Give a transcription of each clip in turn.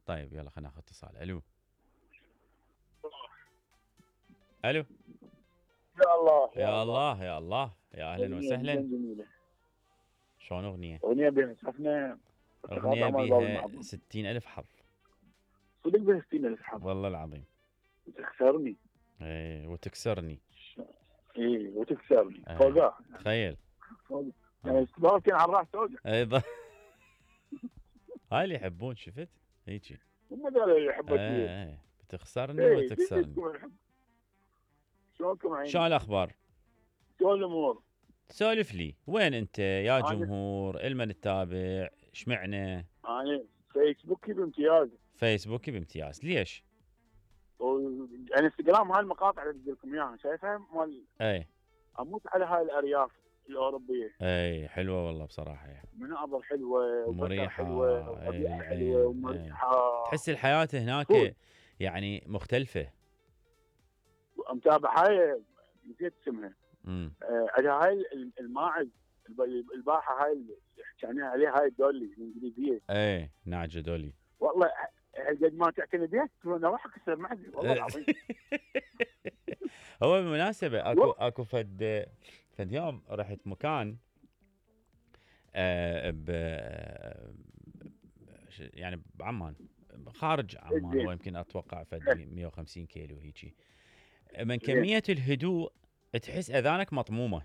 طيب يلا خلينا ناخذ اتصال. الو الو. يا الله يا الله يا الله يا اهلا أغنية وسهلا. جدا جميلة. شلون اغنيه؟ أغنية بها سفنة. اغنيه بيها 60,000 حظ. صدق بها 60,000 حظ. والله العظيم. وتخسرني. ايه وتكسرني. ايه وتكسرني. فوقها. تخيل. يعني استمرارتي على الراس توقع. ايضا. هاي اللي يحبون شفت؟ هيجي. هم ذول اللي يحبون فيه. ايه بتخسرني وتكسرني. شلونكم عيني؟ شو الاخبار؟ شلون الامور؟ سولف لي، وين انت يا جمهور؟ المن تتابع؟ اشمعنى؟ انا فيسبوكي بامتياز. فيسبوكي بامتياز، ليش؟ انستغرام هاي المقاطع اللي بدي لكم اياها شايفها مال. اي اموت على هاي الارياف الاوروبيه. اي حلوه والله بصراحه يعني. مناظر حلوه مريحه حلوه وطبيعه حلوه ومريحه. تحس الحياه هناك يعني مختلفه. متابع هاي نسيت اسمها. عندها هاي الماعز الباحه هاي اللي حكينا عليها هاي دولي الانجليزيه. ايه ناجه دولي. والله قد ما تعتني بها انا راح اكسر معدي والله العظيم. هو بالمناسبه اكو فد يوم رحت مكان يعني بعمان خارج عمان، هو يمكن اتوقع فد 150 كيلو هيجي. من كميه الهدوء تحس اذانك مطمومه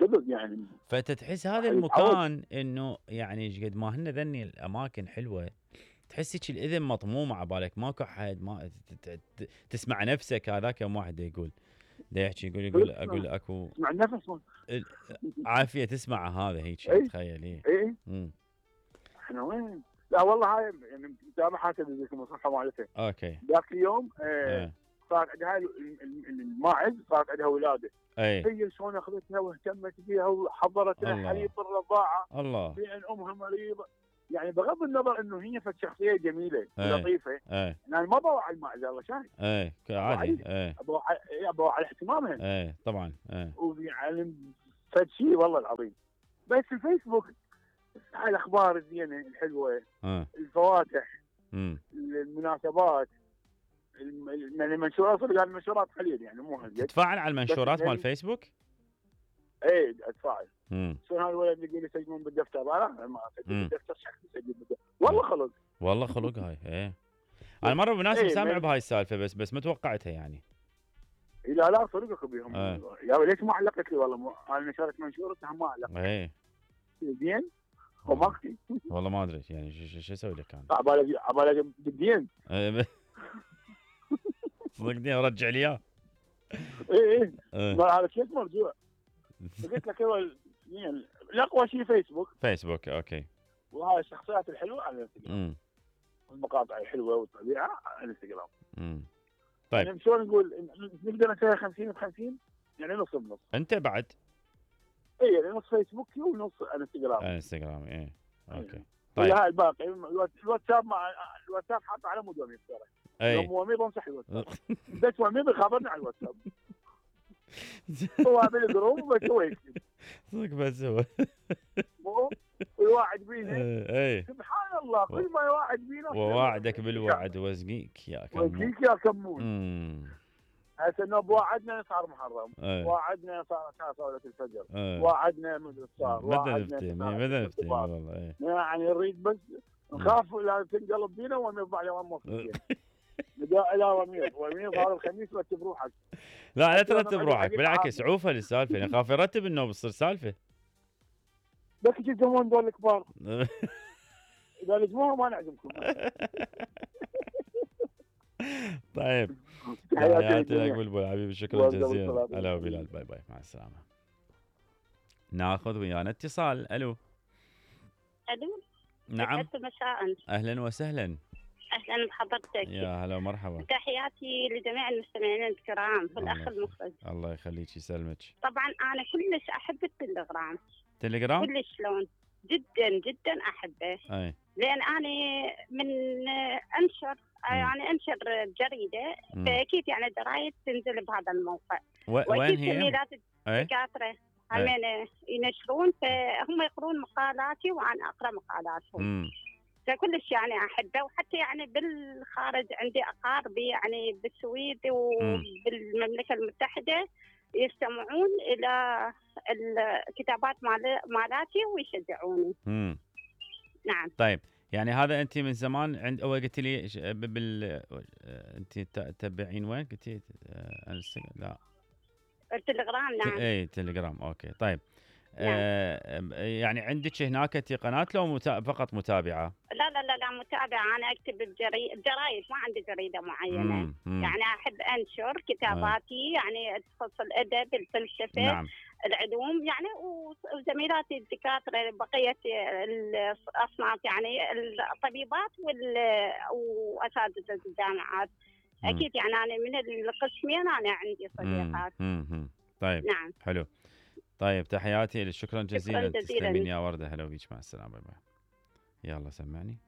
صدق يعني. فتتحس هذا المكان انه يعني ايش قد ما هن ذني الاماكن حلوه، تحس هيك الاذن مطمومه عبالك ماكو حد، ما تسمع نفسك. هذاك يوم واحد يقول دا يحكي يقول اكو تسمع النفس عافيه تسمع هذا هيك. تخيل. ايه احنا وين؟ لا والله هاي يعني متابع حتى لكم الصحه مالته. اوكي. ذاك اليوم صار عندها الماعز صارت عندها ولاده. هي شلون اخذتها واهتمت بها وحضرت لها حليب الرضاعه. الله. بان امها مريضه. يعني بغض النظر انه هي شخصيه جميله ولطيفه. يعني ما بوعى الماعز الله شايف. عادي. بوعى على اهتمامها. طبعا. ويعني فد شيء والله العظيم. بس الفيسبوك هاي الاخبار الزينه الحلوه. الفواتح. المناسبات. يعني المنشورات صدق المنشورات قليل يعني مو هالقد. تتفاعل على المنشورات مال فيسبوك؟ ايه اتفاعل. شلون هذا الولد يقول يسجلون بالدفتر؟ لا ما اسجل بالدفتر، شخص يسجل بالدفتر. والله خلق هاي. ايه انا مره بالمناسبه سامع بهاي السالفه بس ما توقعتها يعني. لا صدقك بيهم. يا ليش ما علقت لي؟ والله انا نشرت منشورتها ما علقت. ايه زين وماكتي. والله ما ادري يعني شو اسوي لك انا. عبالك بالدين. صدقني ارجع لي اياه. ايه هذا كيف مرجوع. قلت لك هو يعني الاقوى شيء فيسبوك. اوكي. وهاي الشخصيات الحلوه على الانستغرام. والمقاطع الحلوه والطبيعه على الانستغرام. طيب يعني شلون نقول نقدر نسوي 50 ب50 يعني نص بنص. انت بعد؟ اي يعني نص فيسبوكي ونص انستغرام. ايه اوكي. طيب هاي الباقي الواتساب حاطه على مود وميض ترى. يوم وميض امسح الواتساب. بس وميض يخبرني على الواتساب. هو عامل جروب بس هو يكتب. صدق بس هو. مو ويواعد بينا. سبحان الله كل ما يواعد بينا. وواعدك بالوعد وزقيك يا كمون. هسه انه بوعدنا صار محرم. وعدنا صار صلاه الفجر. وعدنا مدري صار. ماذا نفتي والله. يعني نريد بس نخاف لا تنقلب بينا ونرفع يوم موفقين. نداء الى وميض هذا الخميس رتب روحك. لا ترتب روحك بالعكس عوفه للسالفه. انا خاف يرتب انه بتصير سالفه. بس يجون دول الكبار. اذا لزموها ما نعزمكم. طيب حياتي لك بلبل حبيبي، شكرا جزيلا. هلا بلال، باي باي مع السلامه. ناخذ ويانا اتصال. الو. نعم مساء. اهلا وسهلا. اهلا بحضرتك. يا هلا ومرحبا. تحياتي لجميع المستمعين الكرام والاخ المخرج. الله يخليك يسلمك. طبعا انا كلش احب التليجرام. كلش شلون جدا احبه. لان انا من انشر جريده فاكيد يعني دراية تنزل بهذا الموقع. وين هي؟ دكاتره همين ينشرون فهم يقرون مقالاتي وانا اقرا مقالاتهم. فكلش يعني احبه، وحتى يعني بالخارج عندي اقاربي يعني بالسويد وبالمملكه المتحده يستمعون الى الكتابات مالاتي ويشجعوني. نعم. طيب يعني هذا انت من زمان عند اول قلت لي انت تتبعين وين قلتي؟ لا التليجرام. نعم. اي تليجرام. اوكي طيب. يعني عندك هناك انت قناه لو فقط متابعه؟ لا متابعه. انا اكتب بجرايد، ما عندي جريده معينه. يعني احب انشر كتاباتي يعني تخص الادب، الفلسفه، نعم. العلوم يعني، وزميلاتي الدكاتره بقيه الاصناف يعني الطبيبات واساتذه الجامعات. اكيد يعني انا من القسمين انا عندي صديقات. طيب. نعم. حلو. طيب تحياتي، شكرا جزيلا. شكرا جزيلا. تسلمين يا ورده. هلا بيك، مع السلامه. يلا سمعني.